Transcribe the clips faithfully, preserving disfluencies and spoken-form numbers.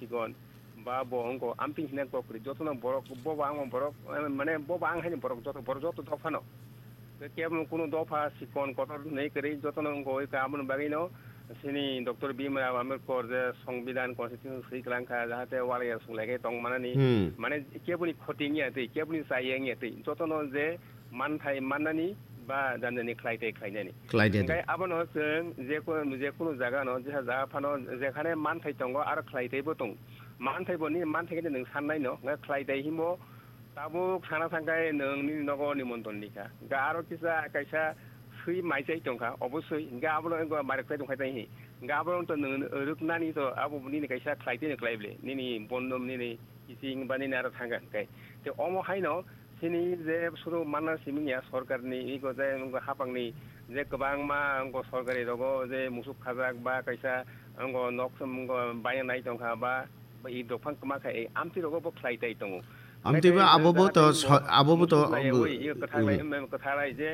Sikon, ba bo wngko amtwi hinna kok kwrwi, jotono borok, bo ba ang borok, eh, mane bo ba ang haini borok, joto borok joto dophano. Kebo kuno dopha sikon kotor hinwi kwrwi, jotono wngko oi ka, aboni bagwino chini Doctor Bimra Ambedkar je Songbidan Constitution swi kwlang kha, jahate walai ya sung lai khe tong manani, Hmm. mane keboni khoti wngya twi, keboni chaya wngya twi, jotono je manthai mannani ba janjani khlai tei khlainani. Khlai tei. Hingke abono chwng je ko-, je kunu jaga no, je jaga phano jekhane manthai tongo aro khlai tei bo tong. Manthai bo ni manthai khe nwng sannai no, hingke khlai tei himo tabuk sana thangkai nwng nini nogo nimontron ni kha. Hingke aro kisa kaisa swi maichai tongkha, obosoi hingke abono wngkha mari khlai tongkha tei hi. Hingke abono to nwng rwknani to abo nini kaisa khlai tei no khlai ble. Nini bondom nini kiching ba nini aro thangkha hingke. Te omo haino chini je suru manna simi ya sorkarni iko je wngkha hapangni je kwbangma wngkha sorkari rogo je musuk khajak ba kaisa wngkha nok wngkha baina nai tongkha ba i dophang kwma kha ei amtwi rogo bo khlai tai tongo. Amtwi ba abo bo to so-, abo bo to musuk nai abo ui, iko kwthang lai, mm. Kwthang lai je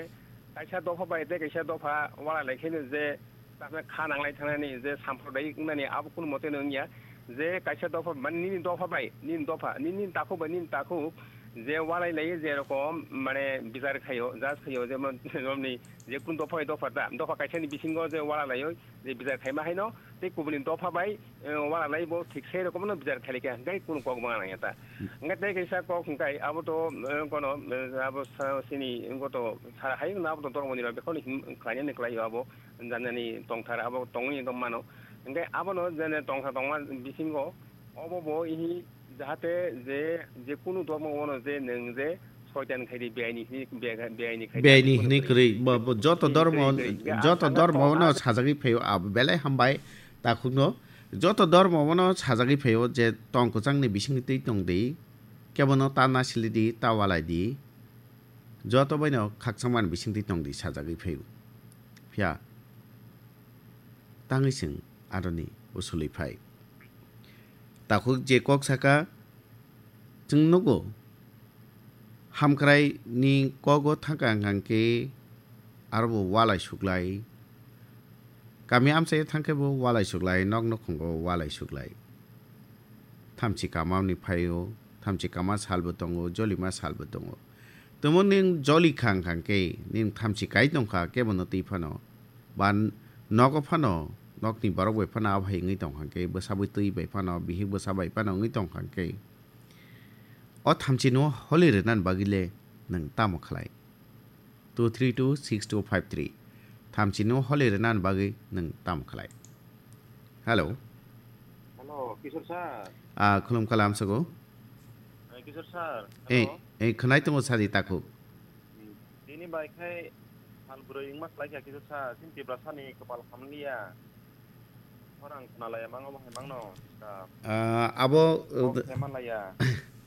kaisa dopha bai tei kaisa dopha wala lai kheno je Tamo kha nanglai thangnani je samprodayik wngnani abo kunu mote no wngya. Je kaisa dopha, mane nini dopha bai, nini dopha, nini, nini takhuk bai, nini takhuk je walai laio, je rokom mane bichar khaio, judge khaio, jemon, jemonni je kunu dopha bai dopha ta, dopha kaisani bisingo je wala laio, je bichar khaima haino, tei kubuni dopha bai, eh, wala lai bo thik sei rokomno bichar khailai kha, hwnkhe kunu kok bangna nangya ta. Hmm. Hwnkhe tei kaisa kok hwnkhe abo to, eh, kono, eh, abo sa-, sini, wngkha to, sa-, hai wngkha abo to dormo ni rok, bekhorni hin-, khlainani khlaio abo. Janani tongthar abo tongwi tongmano. Hingke abono jene tongthar tongma bisingo obo bo ihi jahate je, je kunu dormo bono je nwng je soitan khaidi beaini hini, bea-, beaini khaidi Beaini kunu hini kwrwi. Kwrwi, bo, bo, joto Hini dormo, kwrwi, kwrwi. Hingke joto asana dormo tongthar no sajagwi phaio, abo belai hambai takhukno. Joto dormo bono sajagwi phaio je tong kwchangni bisingtwi tongdi, kebono ta nasilidi, ta walaidi. Joto baino khakchangmani bisingtwi tongdi sajagwi phaio. Phiya tangwi chwng aroni usulwi phai. Takhuk je kok saka, chwng nugo, hamkraini kogo thangka hwnkha khe aro bo walai suklai. Kami amchaio thangkhe bo walai suklai, nok nukhungo walai suklai. Thamchi kamani phaio, thamchi kama salbo tongo, jolima salbo tongo. Tamo nwng joli kha hwnkha khe, nwng thamchi kai tongkha kebono twi phano, ba n-, nogo phano, nokni borok bai phano abo hai wngwi tongkha khe, bwsa bwtwi bai phano, bihik bwsa bai phano wngwi tongkha khe, o thamchino holi rwnani bagwi le nwng tamo khlai? Two three two six two five three. Thamchino holi rwnani bagwi nwng tamo khlai? Hello. Hello, Kishore sir. Ah, khulum kalam sogo. Eh, Kishore sir. Eh, hello. Eh, khwnai tongo sadi takhuk. Hmm, tini bai khai sal bwrwi wngma khlai kha Kishore sir. Chini Tiprasani kwpal hamliya. Khorang khwnalaya mango bo hai mangno. Ah, abo, Kok eh, khe manlaya.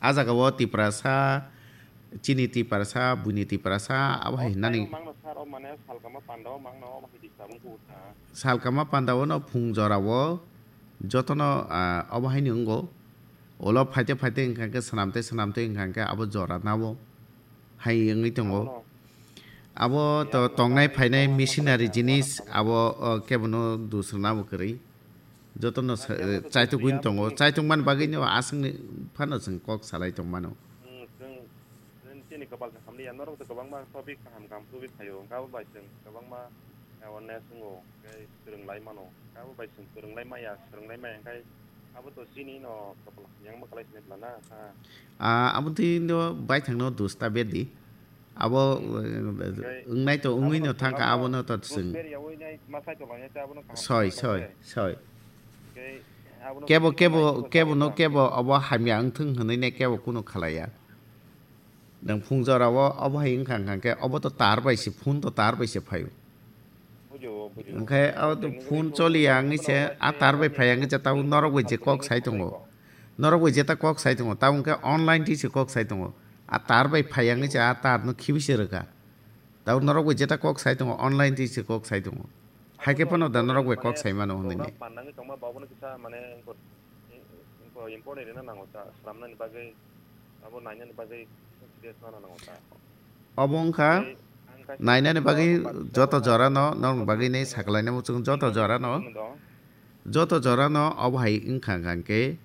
Ah jaga o Tiprasa, chini Tiprasa, buini Tiprasa, abo hai O hinani. Mangno sir, o mane salkama panda o mangno, o hai disturb wngkha. Salkama panda o no phung jora o jotono, ah, obo haini wngo. Ulo phaite phaite wngkha khe swnamte swnamte wngkha khe abo jora nabo hai wngwi tongo. Abono. Abo to tongnai phainai missionary jinis abo, o, kebono dusrwna bo kwrwi. Jotono sa-, chaitok wngwi tongo. Chaitok man bagwi no aswkni phano chwng kok salai tongmano. Chwng, chwng chini kwpal se hamliya, norok to kwbangma topic kaham kaham tubui phaio, hwnkhe abo bai chwng kwbangma awareness wngo, tei swrwng lai mano. Abo bai chwng swrwng lai maya, swrwng lai maya, hwnkhe abo to chini no kwpal hamya wngma kwlai sini bwla na, ha. Ah, abo twi no baithang no dos ta berdi. Abo, eh, wngnai to wngwi no thangkha, abo no to chwng. Soi, soi, soi. Kebo, kebo, kebo no kebo abo hamya wngthung hwnwi ne kebo kuno khalaiya. Nwng phung jora o obo hai wngkha, wngkha khe obo to tar bai se, phone to tar bai se phaio. Bujo, bujo. Hwnkhe abo to phone choliya wngwi se, a tar bai phaiya wngwi se, tabuk norok bai je kok sai tongo. Norok bai jeta kok sai tongo, tabuk hwnkhe online twi se kok sai tongo. A tar bai phaiya wngwi se, a tar no khibi se rwkha. Tabuk norok bai jeta kok sai tongo, online twi se kok sai tongo. Hai khe phano da norok bai kok sai mano hwnwi ne. Program pandangwi tongma babono kisa mane important rwna nango ta, swnamnani bagwi, abo nainani bagwi serious rwna nango ta. Obo wngkha nainani bagwi joto jorano, norokni bagwi ne sakalainai muchung joto jorano, joto jorano obo hai wngkha hwnkhe